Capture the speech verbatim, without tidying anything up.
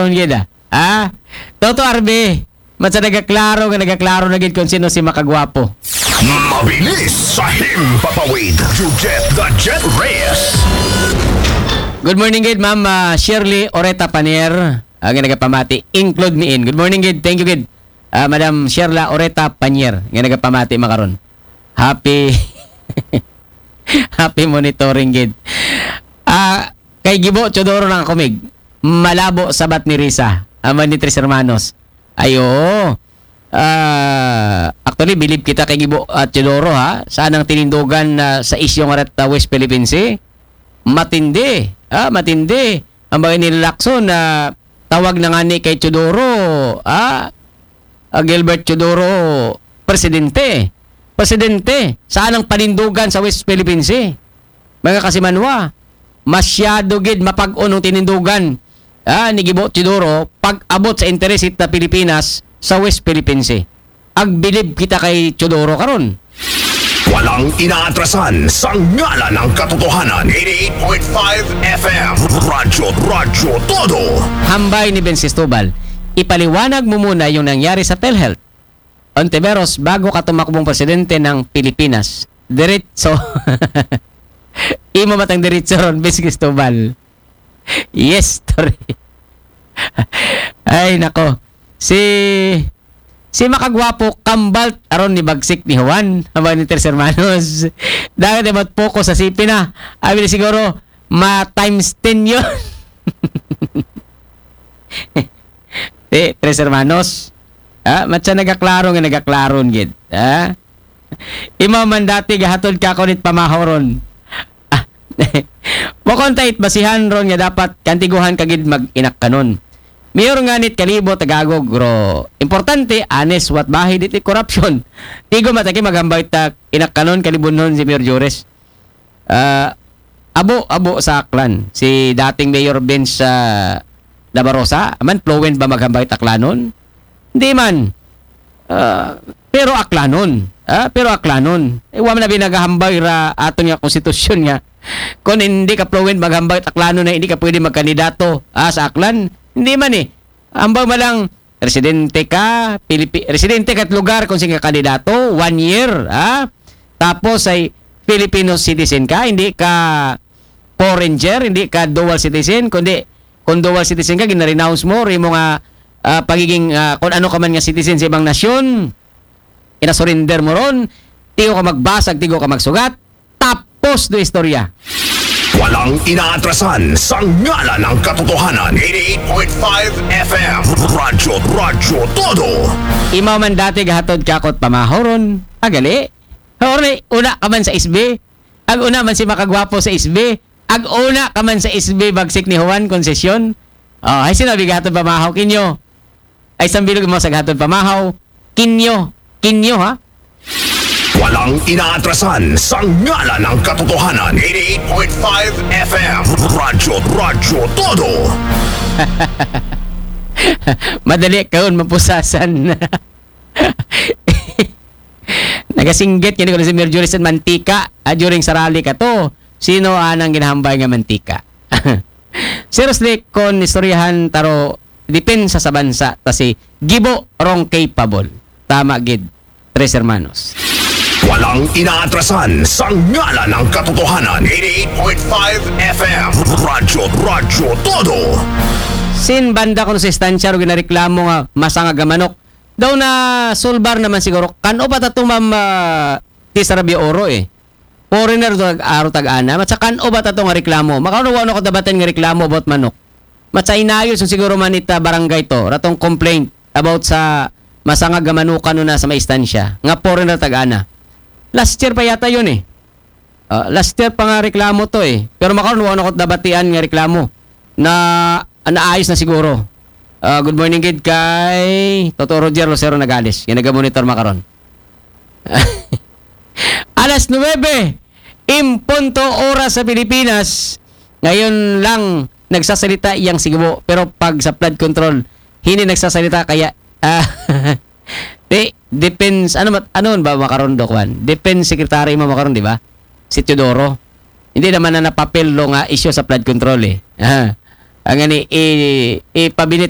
Ang gid, ah. Ah? Toto R B, matsa nagaklaro nga nagaklaro na gid kung sino si makagwapo. Mabilis sa himpapawid. Jujet the Jet Reyes. Good morning gid, Ma'am ah, Shirley Oreta Panier. Ang nagapamati, include ni In. Good morning gid. Thank you gid. Ah, Madam Sherla Oreta Panier nga nagapamati makaron. Happy Happy monitoring gid. Ah, kay Gibo Teodoro nang kumig. Malabo sabat ni Risa. Aman ni Tres Hermanos. Ay, oo. Ah, actually, bilib kita kay Gibo at Teodoro, ha? Saan ang tinindugan na sa isyu nga ret, ah, West Philippine Sea? Matindi. Ha? Matindi. Ang bagay ni Lacson na tawag na nga ni kay Teodoro, ha? Ah, Gilbert Teodoro, presidente. Presidente, saan ang panindugan sa West Philippine Sea? Mga kasimanwa, masyado gid mapag-on ang tinindugan, ah, ni Gibo Teodoro pag abot sa interes sa Pilipinas sa West Philippine Sea. Agbilib kita kay Teodoro karon. Walang inaatrasan sa ngalan ng katotohanan. Eighty-eight point five F M. Radyo, Radyo Todo. Hambay ni Ben Cristobal, ipaliwanag mo muna yung nangyari sa PhilHealth. Ontiveros, bago ka tumakbong presidente ng Pilipinas. Diretso. Imo matang diretso ron, Ben Cristobal. Yes, story. Ay, nako. Si si makagwapo kambalt aron ni bagsik ni Juan, habang ni Tres Hermanos. Dagat ay matpoko sa sipi na. Abi na siguro, ma times ten yun. Eh, Tres Hermanos. Ah, matsa nagaklaro nga nagaklaron gid. Ah? Imaw man dati gahatod ka kunit pamahoron. Ah, mo konta it basihan ron nga dapat kantiguhan ka gid mag-inakkanon. Mayor nga nit kalibo tagagog ro. Importante, honest, wat bahay diti corruption. Tigo mataki maghambay ta inakkanon kalibunhon si Mayor Jores. Ah, abo, abo sa Aklan. Si dating Mayor Vince ah, Labarosa, man fluent ba maghambay Aklanon? Hindi man. Ah, pero Aklanon. Ah, pero Aklanon. Eh, wa man na binagahambay ra aton nga konstitusyon nga. Kung hindi ka fluent maghambay Aklanon na hindi ka pwede magkandidato ah, sa Aklan, hindi man eh. Ambag man lang, residente ka, Pilipi- residente ka lugar kung sige kandidato, one year, ha? Tapos ay Filipino citizen ka, hindi ka foreigner, hindi ka dual citizen, kundi kung dual citizen ka, ginarenounce mo, rin mo nga ah, pagiging ah, kung ano ka man nga citizen sa ibang nasyon, inasurrender mo ron, tigo ka magbasag, tigo ka magsugat, tapos do istorya. Walang inaatrasan sa ngalan ng katotohanan. Eighty-eight point five F M. Radyo, Radyo Todo. Imaw man dati gahatod kakot pamahoron, agali. Hori, una ka man sa S B. Ag una man si makagwapo sa S B. Ag una ka man sa S B bagsik ni Juan Concession. Oh, ay sinabi gahatod pamahaw kinyo. Ay sambilog mo sa gahatod pamahaw. Kinyo. Kinyo ha? Walang inaatrasan sa ngalan ng katotohanan. Eighty-eight point five F M. Radyo, Radyo Todo. Madali kaon mapusasan. Nagasinggit kini ko si Mayor Juris and mantika ah, during sa rally ka to. Sino anang ginahambay nga mantika? Seriously, kung istoryahan taro depensa sa bansa ta si Gibo rong capable. Tama gid, Tres Hermanos. Walang inaatrasan sa ngalan ng katotohanan. Eighty-eight point five F M. Radyo, Radyo Todo. Sin banda kuno sa istansya ro ginareklamo nga masangag nga manok. Daw na sulbar naman siguro. Kan-o pa ta to, Ma'am ah, Tisarabia Oro eh. Foreigner to aro tag-ana. Matsa kan-o ba ta to nga reklamo? Makaroon wala ko dabatin nga reklamo about manok. Matsa inayos yung siguro man ita barangay to. Ratong complaint about sa masangag nga manukan na sa may istansya. Nga foreigner tag-ana. Last year pa yata yun eh. Ah, last year pa nga reklamo to eh. Pero makaroon wala ko dabatian nga reklamo na naayos na siguro. Ah, good morning gid kay Toto Roger Lucero Nagales. Yan nagamonitor makaron. Alas nuwebe, impunto oras sa Pilipinas. Ngayon lang nagsasalita iyang Sigibo. Pero pag sa flood control, hindi nagsasalita kaya ah, di, depends, ano man ba makaron do kwan? Defense Secretary mo makaron, di ba? Si Teodoro. Hindi naman na napapel lo nga issue sa flood control eh. Ah. Ang ani, i, ipabilit